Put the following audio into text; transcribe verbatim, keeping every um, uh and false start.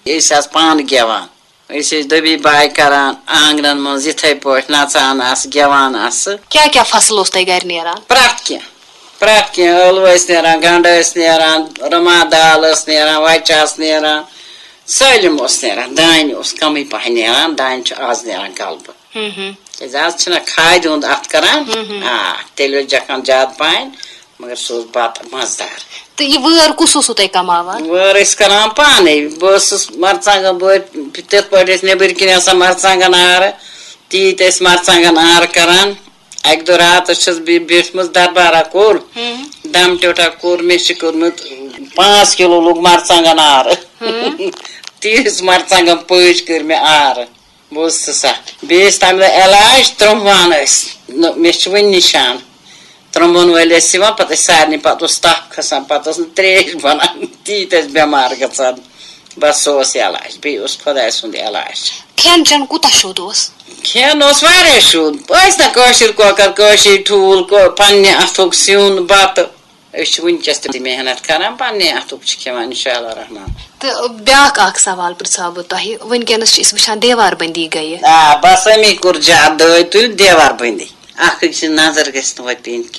أسۍ آسہٕ پانہٕ گٮ۪وان۔ أسۍ ٲسۍ دٔبی باے کران، آنگنن منٛز یِتھے پٲٹھۍ نژان آسہٕ، گٮ۪وان آسہٕ۔ کیٛاہ کیٛاہ فصل اوس تۄہہِ گرِ نیران؟ پرٛٮ۪تھ کینٛہہ، پرٛٮ۪تھ کینٛہہ۔ ٲلوٕ ٲسۍ نیران، گنڈٕ ٲسۍ نیران، رُما دال ٲس نیران، وچہِ آسہٕ نیران، سٲلِم اوس نیران۔ دانہِ اوس کمٕے پہن نیران، دانہِ چھُ آز نیران غلبہٕ۔ ہم ہم۔ کیٛازِ آز چھِنہ کھادِ ہُنٛد اتھ کران۔ ہم ہم۔ آ، تیٚلہِ اوس جکھان زیادٕ پہن، مگر سُہ اوس بتہٕ مزٕدار۔ تہٕ یہِ وٲر کُس اوسوٕ تۄہہِ کماوان؟ وٲر ٲسۍ کران پانے۔ بہٕ ٲسٕس مرژٕوانٛگن، بہٕ ٲسۍ تِتھ پٲٹھۍ ٲسۍ نیٚبٕرۍ کِنۍ آسان مرژٕوانٛگن آرٕ، تیٖتۍ ٲسۍ مرژٕوانٛگن آرٕ کران۔ اکہِ دۄہ راتس چھَس بہٕ بیٖٹھمٕژ دربارہ کُل، ہم۔ دم ٹیوٹھا کوٚر، مےٚ چھِ کوٚرمُت پانٛژھ کِلوٗ لوٚگ مرژٕوانٛگن آرٕ۔ ہم۔ تیٖژ مرژٕوانٛگن پٲج کٔر مےٚ آرٕ۔ بوز ژٕ سا، بیٚیہِ ٲسۍ تَمہِ دۄہ علاج، ترٛمبان ٲسۍ۔ نہ، مےٚ چھِ وٕنہِ نِشان۔ ترٛمبن وٲلۍ ٲسۍ یِوان، پَتہٕ ٲسۍ سارنٕے، پَتہٕ اوس تَپھ کھسان، پَتہٕ ٲس نہٕ ترٛیش بَنان، تیٖتۍ ٲسۍ بٮ۪مار گژھان۔ بَس، سُہ اوس علاج، بیٚیہِ اوس خۄداے سُنٛد علاج۔ کھٮ۪ن چٮ۪ن کوٗتاہ شوٚد اوس؟ کھٮ۪ن اوس واریاہ شوٚد۔ ٲسۍ نہ کٲشِر کۄکَر، کٲشِر ٹھوٗل، کٲ-، پنٛنہِ اَتھُک سیُن، بَتہٕ۔ أسۍ چھِ وٕنکیٚس تہِ محنت کران، پننہِ اَتھُک چھِ کھٮ۪وان، انشاءاللہ رحمان۔ تہٕ بیٛاکھ اکھ سوال پرژھاو بہٕ تۄہہِ، وٕنکیٚنس چھِ أسۍ وٕچھان دیوار بندی گٔیہِ۔ آ، بس اَمی کوٚر زیادٕ دٲے تُہۍ دیوار بندی۔ اکھ أکۍ سٕنٛز نظر گژھِ نہٕ وۄنۍ پیٚنۍ کینٛہہ۔